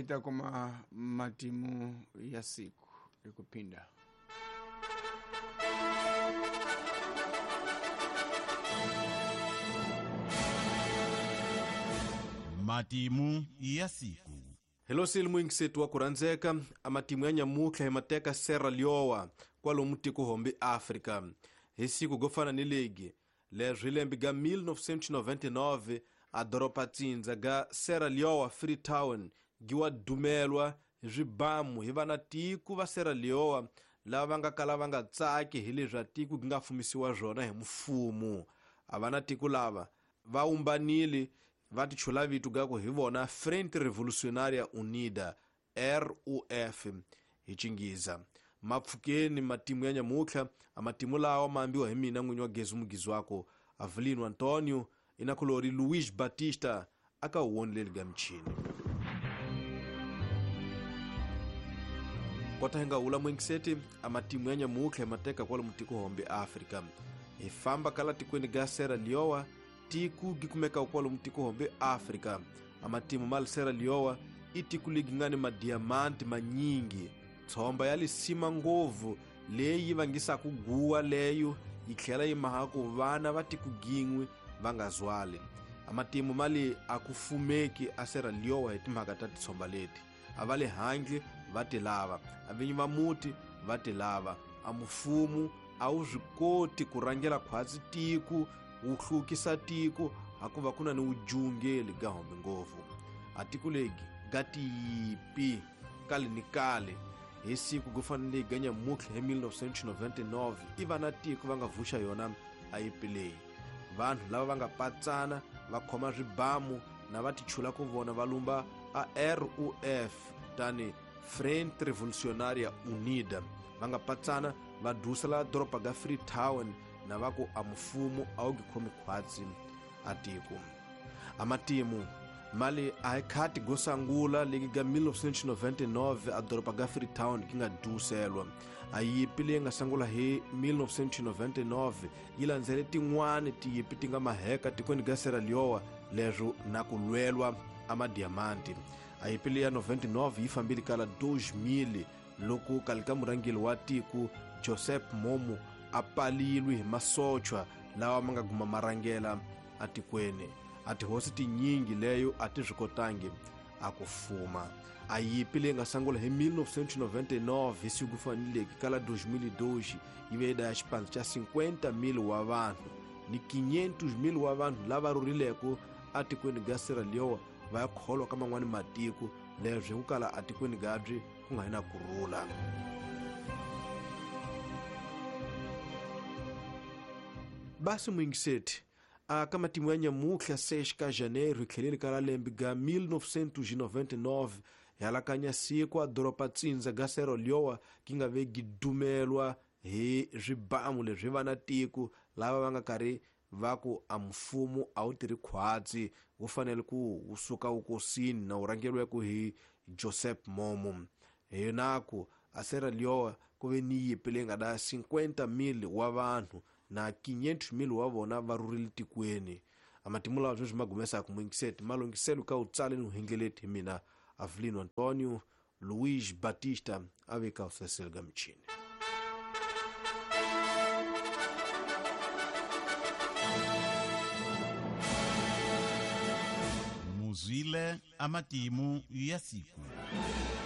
Hita kuma matimu ya siku ikupinda. Matimu ya siku. Hello silmu wa kuranzeka amatimu ya nyamutlha hi mateka Sierra Leone kwalomu tiko hombe Afrika. Hi siku gofana ni ligi leswi lembe ga 1999 a doroba tsindza ga Sierra Leone Freetown giwa dumelwa hi swibamu hi vana tiko va Sierra Leone lava va nga kala va nga tsaki hi leswi a tiko gi nga fumisiwa swona hi mfumo. A vana tiko lava va umbanile va tichula vito ga ku hi vona Frente Revolucionária Unida RUF hi Chingiza. Mapfukeni matimu ya nyamutlha a matimu lawa ma ambiwa hi mina n'winyi wa Gezu mugizi wako Avelino Antonio inakulori Luiz Batista aka woni leli ga mchini. Kota hinga ula mwingiseti a matimu ya nyamutlha mateka kwala mutiko hombe Afrika. Hi famba kala tikweni ga Sierra Leone tiku gikumeka kwala mutiko hombe Afrika. A matimu mal Sierra Leone itiku ligingani madiamanti manyingi. Tsomba ya lisima ngovu leyi vangisa kuguwa leyo yitlhela yi maha ku vana va tikugingwi va nga zwali. Amatimu mali akufumeki a Sierra Leone hi timhaka ta titsomba leti. A va le handle va ti lava, a vinyi va muti va ti lava. A mufumu a wu swi koti ku rhangela khwatsi tiko wu hlukisa tiko hakuva ku na ni wujungeli ga hombe ngopfu. A tiko legi ga tiyipi kale ni kale. Hi siku ku fanele ga nyamutlha hi 1999 i vana tiko va nga vuxa yona a yipi leyi. Vanhu lava va nga patsana va khoma swibamu na va tichula ku vona va lumba a RUF tani Frente Revolucionária Unida. Va nga patsana va dusela doroba ga Freetown na va ku a mfumo a wu gi khomi khwatsi a tiko. A matimu mali a hi khati go sangula legi ga 1999 a doroba ga Freetown ki nga duselwa. A yipi leyi nga sangula hi 1999 yi landzele tin'wani tiyipi ti nga maheka tikweni ga Sierra Leone leswo na ku lwelwa a madiamanti. A yipi leyi ya 99 yi fambile kala 2000 loko kale ka murhangeri wa tiko Joseph Momo a palilwe hi masochwa lawa ma nga guma marhangela a tikweni. A tihosi tinyingi leyo a ti swi kotangi a ku fuma. A yipi leyi nga sangula hi 1999 hi siku faneleke kala 2002 yi ve ya xipandza xa 50,000 wa vanhu ni 500,000 wa vanhu lava rhurileko a tikweni ga Sierra Leone va ya kholwa ka man'wani matiko leswi ku kala a tikweni gabyi ku nga hi na kurhula. Basi mwingiseti a ka matimu ya nyamutlha 6 ka janeiro hi tlheleni ka lembe ga 1999 hi alakanya siku a doroba tsindza ga Sierra Leone ki nga ve gidumelwa hi swibamu leswi vana tiko lava va nga karhi va ku a mfumo a wu tirhi khwatsi wu fanele ku wu suka wukosini na wu rhangeriweke hi Joseph Momo. Hi naku a Sierra Leone ku ve ni yipi leyi nga da 50,000 wa vanhu na 500,000 wa vona va rhurile tikweni. A matimu lawa sweswi ma gumesaka mwingiseti ma lunghiselo ka u tsale ni uhengeleti hi mina Avelino Antonio Luiz Batista a veka usesel ga michini. Muzwile amatimu ya siku.